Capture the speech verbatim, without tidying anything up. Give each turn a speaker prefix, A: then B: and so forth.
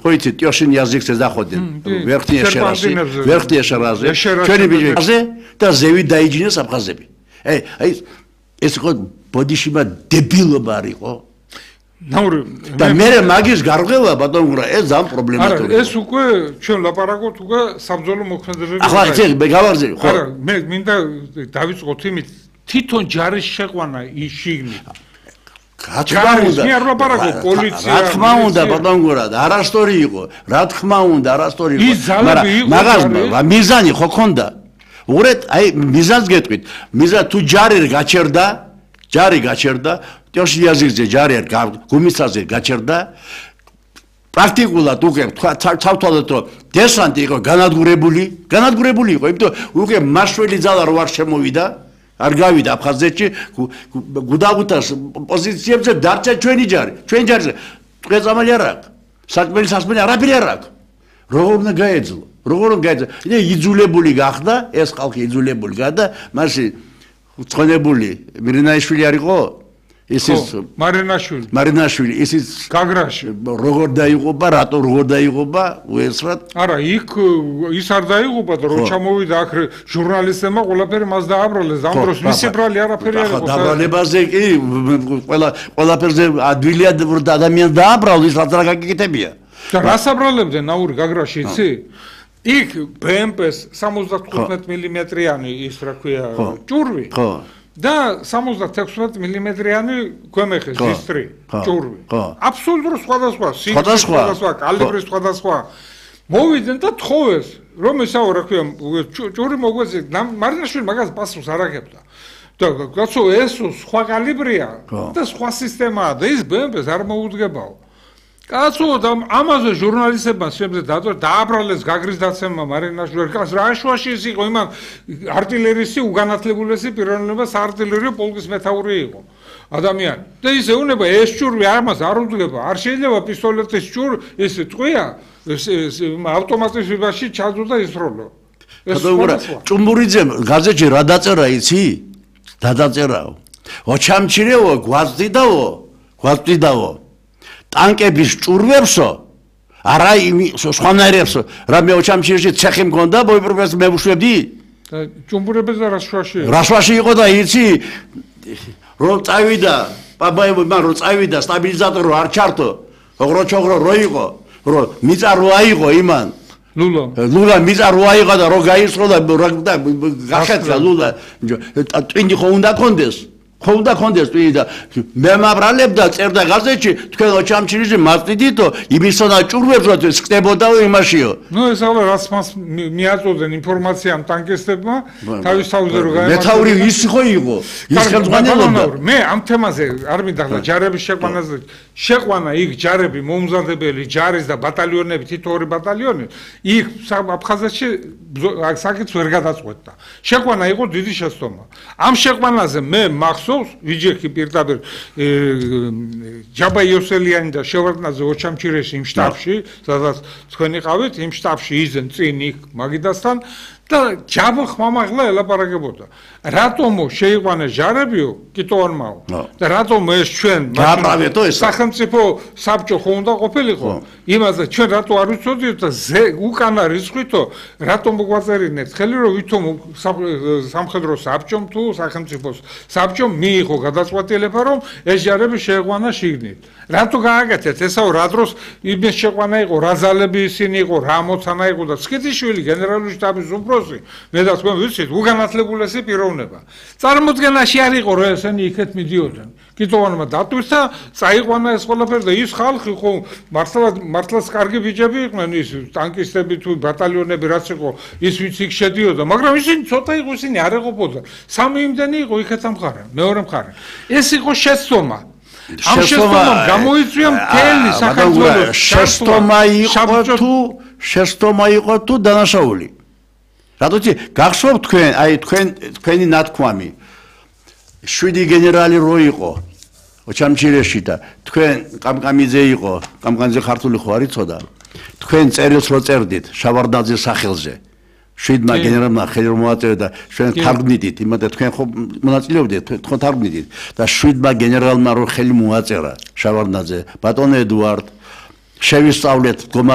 A: Хоите, тёшин язык се заходен. Верхняя шераси, верхняя шеразе. Ჩვენი ბიჭებზე და ზევი დაიჯინეს აფხაზები. აი, აი ეს ხო ბოდიშიმა დებილობა არ იყო?
B: ნაური
A: და მე მაგის გარღვევა ბატონო ეს ძალიან პრობლემატურია.
B: არა, ეს უკვე ჩვენ ლაპარაკობთ უკვე საბრძოლო მოქმედებების.
A: ახლა ეს მე გავარზე, ხო?
B: არა, მე მინდა დავიწყოთ იმით, თვითონ ჯარის შეყვანა ის შიგნით.
A: რა თქმა უნდა,
B: მე არ ლაპარაკობ პოლიცია.
A: რა თქმა უნდა, ბატონო, არასტორი იყო. რა თქმა უნდა, არასტორი იყო. მაგრამ მაგას მიზანი ხო ქონდა? უყურეთ, აი მიზანს გეტყვით. მიზა თუ ჯარი გაჩერდა, ჯარი გაჩერდა, ტიოში языкზე ჯარი არ გუმისაზე გაჩერდა. პრაქტიკულად უკვე თავთავად რომ დესანტი იყო განადგურებული, განადგურებული იყო, იმიტომ უკვე მაშველი ძალა რო არ შემოვიდა. არ გავიდა აფხაზეთში გუდაგუტას პოზიციებზე დარჩა ჩვენი ჯარი ჩვენი ჯარზე წამალი არ აქვს საკმელი სასმელი არაფერი არ აქვს როგორ უნდა გაეძლო როგორ უნდა გაეძლო იდე იძულებული გახდა ეს ხალხი იძულებული გახდა მასი ცხონებული მირინაიშვილი არ იყო ისის
B: მარინაშვილი
A: მარინაშვილი ისის
B: გაგრაში
A: როგორ დაიღობა რატო როგორ დაიღობა უესრად
B: არა იქ ის არ დაიღობა და რო ჩამოვიდა აქ ჟურნალისტებმა ყველაფერი მას დააბრალეს ამ დროს მისი ბრალი არაფერი არ იყო
A: დაბრალებაზე კი ყველა ყველაფერზე ადვილია ადამიანს დააბრალეს რაც რა გაკეთებია
B: და რას აბრალებდნენ ნაური გაგრაში იცი იქ ბე ემ პეს სამოცდათხუთმეტ მილიმეტრიანი ის რა ქვია ჭურვი ხო და სამოცდათექვსმეტ მილიმეტრიანი ქვემეხის დისტრი ჭურვი აბსოლუტურად სხვადასხვა სიგრძის სხვადასხვა კალიბრის სხვადასხვა მოვიდნენ და თხოვეს რომ ესაო რა ქვია ჭური მოგვეცეთ მარინაშვილი მაგას პასუხს არ აგებდა და კაცო ეს სხვა კალიბრია და სხვა სისტემაა და ის ბე ემ პეს არ მოუდგებაო კაცო და ამაზე ჟურნალისტებმა შემზე დააბრალეს გაგრის დაცემმა მარინაშვილს კაც რა შუაში ის იყო იმან არტილერისი უგანათლებულესი პიროვნება საარტილერიო პოლკის მეთაური იყო ადამიანი და ის ეუნება ეს ჭურვი ამას არ უძგება არ შეიძლება პისტოლეტის ჭურ ეს წყვია ავტომატიზმში ჩაძვდა ისროლო
A: ჭუმბურიძე გაზეთში რა დაწერა იცი დაწერაო ოჩამჩირეო გვაზდიდაო გვაზდიდაო ტანკების ჭურვებსო არა სხვანაირებსო რა მე ოჩამჩირში ცეხი მქონდა ბოიპროფეს მე ვუშვებდი
B: და ჭუმბურებზე რა შვაში
A: რა შვაში იყო და იცი რომ წავიდა პაპაევი მან რომ წავიდა სტაბილიზატორი არ ჩართო ოღრო ჩოღრო რო იყო რომ მიწა რო აიღო იმან
B: ლულა
A: ლულა მიწა რო აიღო და რო გაისრო და გახეთლა ლულა ტვინი ხო უნდა კონდეს ხო უნდა კონდეს ტვინი და მე მაბრალებდა წერდა გაზეთში თქვენ ოჩამჩირიში მასწიდითო იმისონა ჭურვებს რო ხდებოდაო იმაშიო
B: ნუ ეს ახლა რაც მას მიაწოდენ ინფორმაციამ ტანკისტებმა თავის თავზე რო გაემართება
A: მეთაური ის ხო იყო ის ხელმძღვანელობდა
B: მე ამ თემაზე არ მინდა ჯარების შეყვანაზე შეყვანა იქ ჯარები მომზადებელი ჯარის და ბატალიონები თითო ორი ბატალიონი იქ აფხაზეთში საკითხს ვერ გადაწყვეტდა შეყვანა იყო დიდი შეცდომა ამ შეყვანაზე მე მახსოვს ვიჯექი პირდაპირ ჯაბა იოსელიანი და შევარდნაძე ოჩამჩირეში იმ შტაბში სადაც თქვენ იყავით იმ შტაბში იძენ წინ იქ მაგიდასთან და ჯაბა ხმამაღლა ელაპარაკებოდა რატომო შეიყვანეს ჯარებიო კიტოვანმაო და რატომ ეს ჩვენ
A: გააბრავეთო ეს
B: სახელმწიფო საბჭო ხო უნდა ყოფილიყო იმაზე ჩვენ რატო არ ვიცოდიოთ და უკანა რიცხვითო რატომ მოგვაწერინეთ ხელი რომ ვითომ სამხედრო საბჭომ თუ სახელმწიფოს საბჭომ მიიღო გადაწყვეტილება რომ ეს ჯარები შეიყვანა შიგნით რატო გააკეთეთ ესაო რა დროს იმის შეყვანა იყო რა ძალები ისინი იყო რა მოცანა იყო და სკიტიშვილი გენერალური შტაბის უფროსი მე და თქვენ ვიცით უგანათლებულესი პიროვნება წარმოდგენაში არ იყო რომ ესენი იქეთ მიდიოდნენ კიტოვანმა დატვირთა წაიყვანა ეს ყველაფერი და ის ხალხი ხო მართლა მართლაც კარგი ბიჭები იყვნენ ის ტანკისტები თუ ბატალიონები რაც იყო ის ვინც იქ შედიოდა მაგრამ ისინი ცოტა იყო ისინი არ ეყოფოდა სამი იმდენი იყო იქეთ ამხარე მეორე მხარე ეს იყო შეცდომა ამ შეცდომამ გამოიწვია მთელი საქართველოს
A: შეცდომა იყო თუ შეცდომა იყო თუ დანაშაული რატო გახსოვთ თქვენ აი თქვენ თქვენი ნათქვამი შვიდი გენერალი რო იყო ოჩამჩირეში და თქვენ კამკამიძე იყო კამკამიძე ქართული ხო არ იცოდა თქვენ წერილს რო წერდით შავარდნაძის სახელზე შვიდმა გენერალმა ხელი რომ მოაწერა და ჩვენ თარგმნით იმადა თქვენ ხო მონაწილეობდით თქვენ თარგმნით და შვიდმა გენერალმა რო ხელი მოაწერა შავარდნაძე ბატონო ედუარდ შევისწავლეთ